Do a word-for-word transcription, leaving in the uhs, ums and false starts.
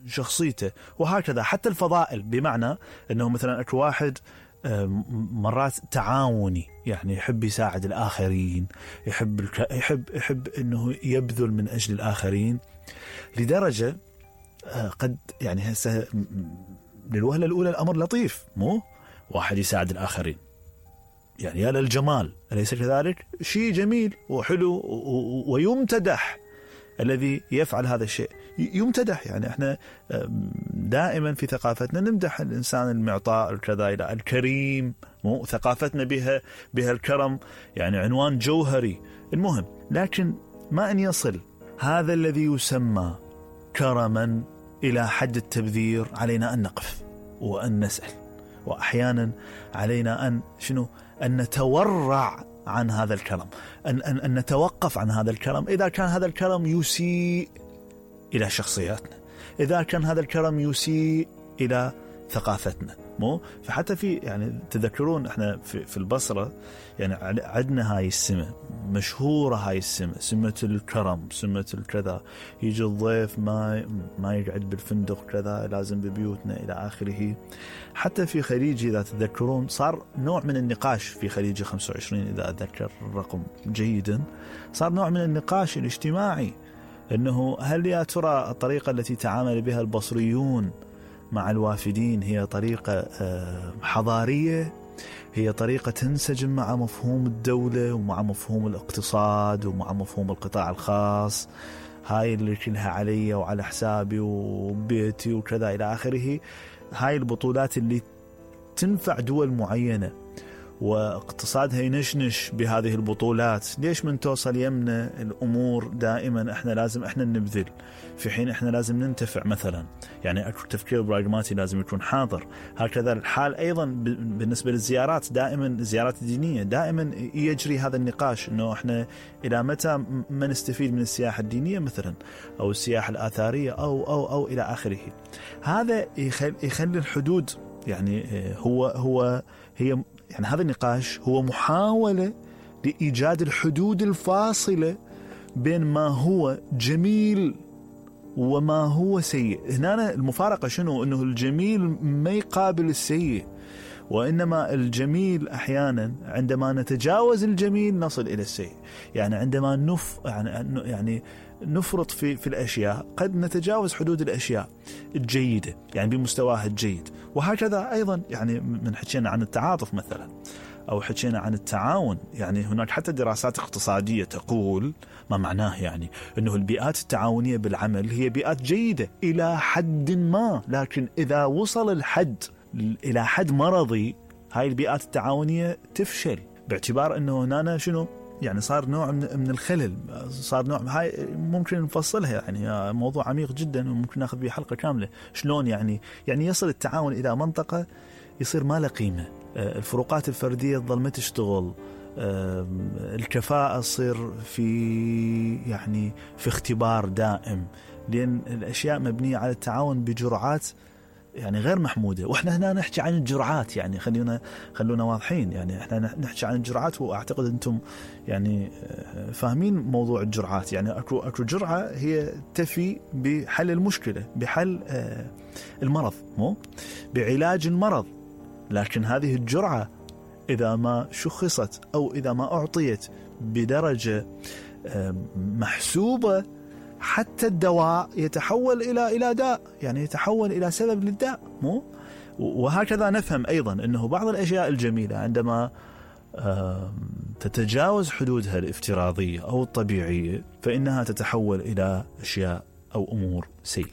شخصيته. وهكذا حتى الفضائل، بمعنى أنه مثلا أكو واحد مرات تعاوني، يعني يحب يساعد الآخرين، يحب الك... يحب يحب أنه يبذل من أجل الآخرين، لدرجة قد يعني هسه للوهلة الأولى الأمر لطيف، مو واحد يساعد الآخرين يعني يا للجمال، أليس كذلك؟ شيء جميل وحلو ويمتدح الذي يفعل هذا الشيء، يمتدح. يعني احنا دائما في ثقافتنا نمدح الإنسان المعطاء الكذا إلى الكريم، مو ثقافتنا بها بها الكرم يعني عنوان جوهري. المهم، لكن ما أن يصل هذا الذي يسمى كرما إلى حد التبذير، علينا أن نقف وأن نسأل، وأحيانا علينا أن شنو أن نتورع عن هذا الكرم، أن, أن, أن نتوقف عن هذا الكرم إذا كان هذا الكرم يسيء إلى شخصياتنا، إذا كان هذا الكرم يسيء إلى ثقافتنا. مو فحتى في يعني تذكرون احنا في, في البصرة يعني عندنا هاي السمة مشهورة، هاي السمة سمة الكرم، سمة الكذا، يجي الضيف ما ما يقعد بالفندق كذا، لازم ببيوتنا إلى آخره. حتى في خليجي إذا تذكرون صار نوع من النقاش في خليجي خمسة وعشرين إذا أتذكر الرقم جيدا، صار نوع من النقاش الاجتماعي أنه هل يا ترى الطريقة التي تعامل بها البصريون مع الوافدين هي طريقة حضارية، هي طريقة تنسجم مع مفهوم الدولة ومع مفهوم الاقتصاد ومع مفهوم القطاع الخاص، هاي اللي كلها علي وعلى حسابي وبيتي وكذا إلى آخره. هاي البطولات اللي تنفع دول معينة واقتصادها ينشنش بهذه البطولات، ليش من توصل يمنا الأمور دائما احنا لازم احنا نبذل في حين احنا لازم ننتفع مثلا؟ يعني التفكير براغماتي لازم يكون حاضر. هكذا الحال أيضا بالنسبة للزيارات، دائما الزيارات الدينية دائما يجري هذا النقاش انه احنا الى متى ما نستفيد من السياحة الدينية مثلا او السياحة الآثارية او او او الى آخره. هذا يخلي الحدود يعني هو هو هي يعني هذا النقاش هو محاولة لإيجاد الحدود الفاصلة بين ما هو جميل وما هو سيء. هنا المفارقة شنو؟ أنه الجميل ما يقابل السيء، وإنما الجميل أحيانا عندما نتجاوز الجميل نصل إلى السيء. يعني عندما نف يعني يعني نفرط في في الأشياء قد نتجاوز حدود الأشياء الجيدة يعني بمستواها الجيد. وهكذا أيضا يعني من حكينا عن التعاطف مثلا أو حكينا عن التعاون، يعني هناك حتى دراسات اقتصادية تقول ما معناه يعني أنه البيئات التعاونية بالعمل هي بيئات جيدة إلى حد ما، لكن إذا وصل الحد إلى حد مرضي هاي البيئات التعاونية تفشل، باعتبار أنه هنا شنو يعني صار نوع من الخلل، صار نوع هاي ممكن نفصلها يعني موضوع عميق جدا وممكن ناخذ به حلقة كاملة. شلون يعني يعني يصل التعاون إلى منطقة يصير ما له قيمة، الفروقات الفردية تظل ما تشتغل، الكفاءة تصير في يعني في اختبار دائم، لأن الأشياء مبنية على التعاون بجرعات يعني غير محمودة. وإحنا هنا نحكي عن الجرعات، يعني خلينا خلونا واضحين، يعني إحنا نحكي عن الجرعات، وأعتقد أنتم يعني فاهمين موضوع الجرعات. يعني أكو أكو جرعة هي تفي بحل المشكلة، بحل المرض، مو بعلاج المرض، لكن هذه الجرعة إذا ما شخصت أو إذا ما أعطيت بدرجة محسوبة حتى الدواء يتحول إلى إلى داء، يعني يتحول إلى سبب للداء، مو وهكذا نفهم أيضا أنه بعض الأشياء الجميلة عندما تتجاوز حدودها الافتراضية أو الطبيعية فإنها تتحول إلى أشياء أو أمور سيئة.